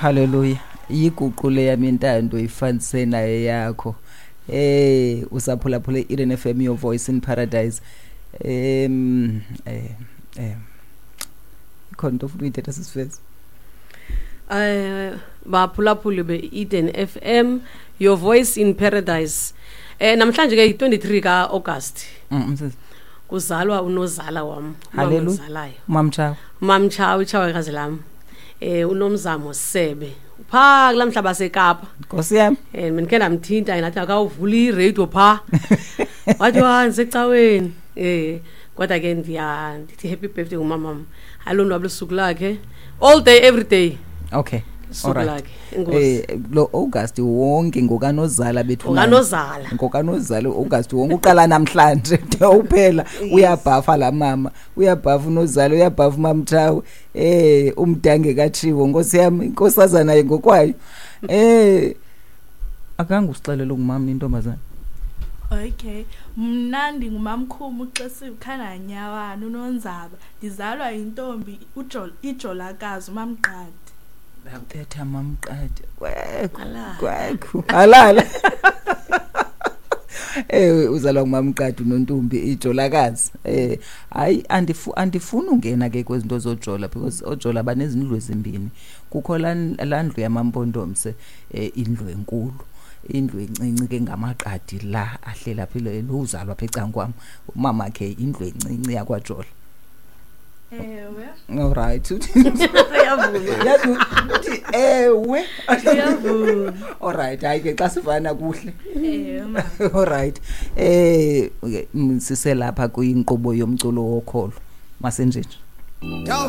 Hallelujah. Yiguqule yami intando ifanise naye yakho. Usaphulaphula Eden FM, your voice in paradise. Em eh eh Ikhona into ofuna uyithetha, sisifeza? Baphulaphuli be-Eden FM, your voice in paradise, namhlanje ke yi-23 ka-August. Msisi. Kuzalwa unozala wam. Hallelujah. Umamzalayo. Mamtshawe. Mamtshawe, itshawekazi lam, uNomzamo Sebe, phaa kulaa mhlaba seKapa. Nkosi yami. Bendikhe ndamthinta, ndathi akawuvula iradio phaa, wathi wa ndisecaweni. Kodwa ke ndiya ndithi happy birthday kumamam, alonwabo lusuku lakhe, all day every day. Suku lakhe. Enkosi. Lo August wonke ngokanozala bethu. Ngokanozala. Ngokanozala August wonke uqala namhlanje de uphela. Uyabhafa la mama, uyabhafa unozala, uyabhafa mamthawe. Umdange kaTshiwo, nkosi yami, inkosazana naye ngokwayo. Akange usixelele ungumama intombazana. Okay, mna ndingumamkhumu uXesikhana uNonzaba. Ndizalwa yintombi ijolakazi uMamqadi. Betha mamqadi. Kwekhu. Halala. Kwekhu. Halala. Uzalwa ngumamqadi unontombi ijolakazi. Hayi, andifuni ungena ke kwezinto zojola, because ojola banezindlu ezimbini. Kukho la ndlu yamampondomse, indlu enkulu. Indlu encinci ke ngamaqadi la ahlela phela lo uzalwa apha ecankwam. Umama ke indlu encinci yakwajola. Ewe. All right. Uyavuma. Yazi uthi ewe. Uyavuma. All right, hayi ke xa sivana kuhle. Ewe mama. All right. Okay, siselapha kwinkqubo yomculo wokholo. Masenjenje.